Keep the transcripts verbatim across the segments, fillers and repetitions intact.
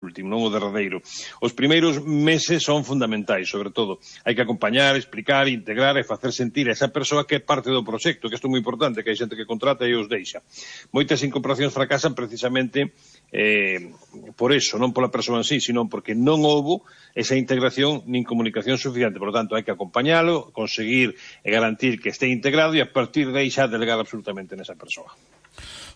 último, non o derradeiro. Os primeiros meses son fundamentais, sobre todo. Hai que acompañar, explicar, integrar e facer sentir a esa persoa que é parte do proxecto, que isto é moi importante, que hai xente que contrata e os deixa. Moitas incorporacións fracasan precisamente eh, por eso, non pola persoa en sí, sino porque non houbo esa integración nin comunicación suficiente. Por lo tanto, hai que acompañalo, conseguir e garantir que este integrado e a partir de aí xa delegar absolutamente nesa persoa.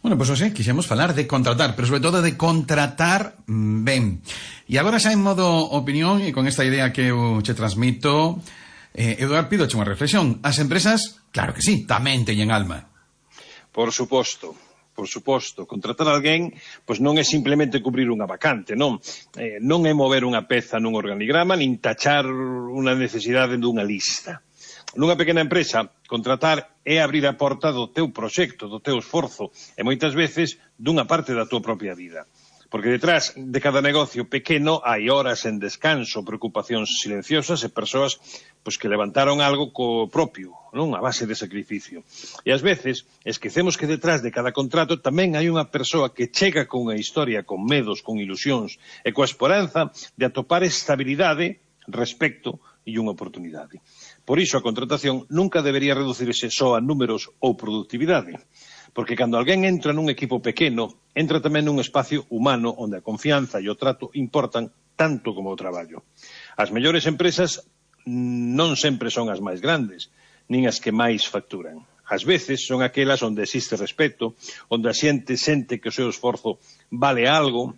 Bueno, pois pues, hoxe quixemos falar de contratar, pero sobre todo de contratar ben. E agora xa en modo opinión, e con esta idea que eu che transmito, eh, Eduardo, pidoche unha reflexión. As empresas, claro que sí, tamén teñen alma. Por suposto, por suposto. Contratar a alguén, pois non é simplemente cubrir unha vacante, non? Eh, non é mover unha peza nun organigrama, nin tachar unha necesidade dunha lista. Nunha pequena empresa, contratar é abrir a porta do teu proxecto, do teu esforzo, e moitas veces dunha parte da tua propia vida. Porque detrás de cada negocio pequeno hai horas en descanso, preocupacións silenciosas e persoas pois, que levantaron algo co propio, non? A base de sacrificio. E ás veces esquecemos que detrás de cada contrato tamén hai unha persoa que chega con unha historia, con medos, con ilusións e coa esperanza de atopar estabilidade, respecto e unha oportunidade. Por iso a contratación nunca debería reducirse só a números ou productividade, porque cando alguén entra nun equipo pequeno, entra tamén nun espacio humano onde a confianza e o trato importan tanto como o traballo. As mellores empresas non sempre son as máis grandes, nin as que máis facturan. Ás veces son aquelas onde existe respeto, onde a xente sente que o seu esforzo vale algo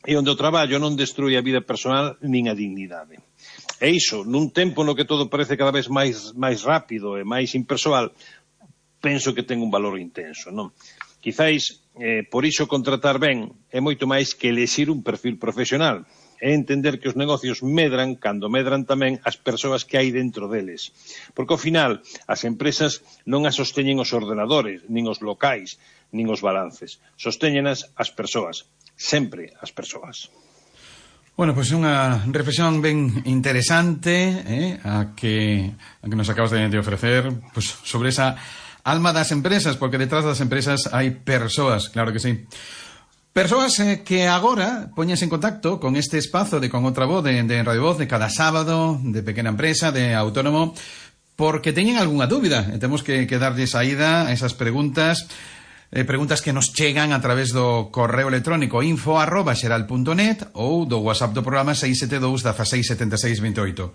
e onde o traballo non destrui a vida personal nin a dignidade. E iso, nun tempo no que todo parece cada vez máis, máis rápido e máis impersoal, penso que ten un valor intenso, non? Quizáis, eh, por iso contratar ben é moito máis que elexir un perfil profesional. É entender que os negocios medran cando medran tamén as persoas que hai dentro deles. Porque ao final, as empresas non as sosteñen os ordenadores, nin os locais, nin os balances. Sostéñenas as persoas. Sempre as persoas. Bueno, pois pues unha reflexión ben interesante eh, a, que, a que nos acabas de, de ofrecer pues, sobre esa alma das empresas, porque detrás das empresas hai persoas, claro que sí. Persoas eh, que agora poñes en contacto con este espazo de Con Outra Voz, de, de Radio Voz, de cada sábado, de pequena empresa, de autónomo, porque teñen algunha dúbida e temos que, que darlle saída a esas preguntas. Eh, preguntas que nos chegan a través do correo electrónico info arroba xeral punto net ou do WhatsApp do programa seis sete dous, dieciséis, setenta e seis, veinte e oito.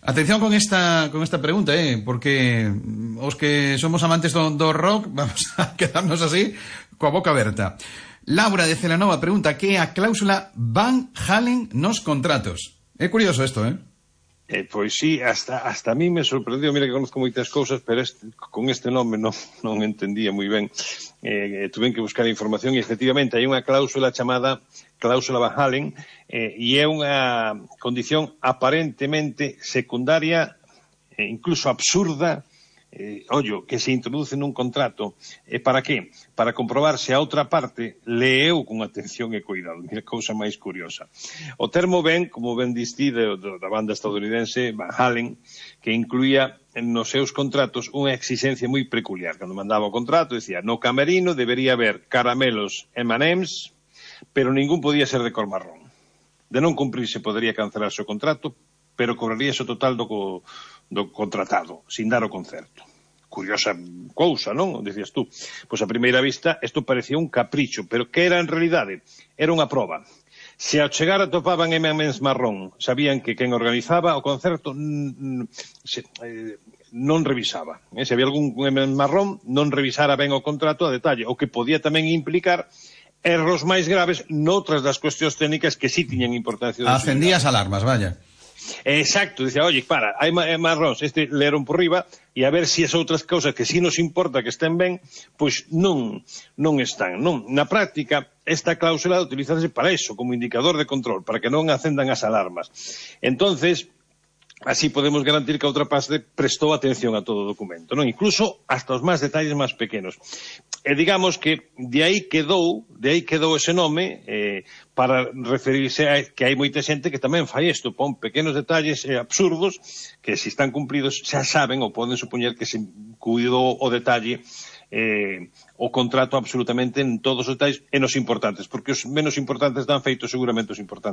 Atención con esta con esta pregunta, eh, porque os que somos amantes do, do rock vamos a quedarnos así coa boca aberta. Laura de Celanova pregunta que é a cláusula Van Halen nos contratos. É curioso isto, eh? Eh, pois sí, hasta, hasta a mí me sorprendeu, mira que conozco moitas cousas, pero este, con este nome non, non entendía moi ben. Eh, tuve que buscar información e efectivamente hai unha cláusula chamada cláusula Van Halen eh, e é unha condición aparentemente secundaria, eh, incluso absurda, eh, ollo, que se introduce nun contrato. E para qué? Para comprobar se a outra parte leeu con atención e cuidado. Mira, cousa máis curiosa. O termo ben, como ben distí de, de, da banda estadounidense Van Halen, que incluía nos seus contratos unha exigencia moi peculiar. Cando mandaba o contrato, decía, no camerino debería haber caramelos eme and ems, pero ningún podía ser de cor marrón. De non cumprirse podería cancelarse o contrato, pero cobraríase o total do, do contratado, sin dar o concerto. Curiosa cousa, non? Dicías tú. Pois a primeira vista, isto parecía un capricho, pero que era en realidade? Era unha proba. Se ao chegar atopaban eme and ems marrón, sabían que quen organizaba o concerto se, eh, non revisaba. Eh? Se había algún eme and ems marrón, non revisara ben o contrato a detalle, o que podía tamén implicar erros máis graves noutras das cuestións técnicas que sí tiñan importancia. Acendías alarmas, vaya. Exacto, dicía, oye, para, hai marróns, este leeron por riba, e a ver se as outras cousas que sí nos importa que estén ben, pois non, non están, non. Na práctica, esta cláusula utilizase para eso, como indicador de control, para que non acendan as alarmas. Entonces, así podemos garantir que a outra parte prestou atención a todo o documento, non? Incluso hasta os máis detalles máis pequenos. E digamos que de aí quedou, de aí quedou ese nome eh, para referirse a que hai moita xente que tamén fai isto, pon pequenos detalles eh, absurdos que se están cumpridos xa saben ou poden supoñer que se cuidou o detalle eh, o contrato absolutamente en todos os detalles e nos importantes, porque os menos importantes dan feito seguramente os importantes.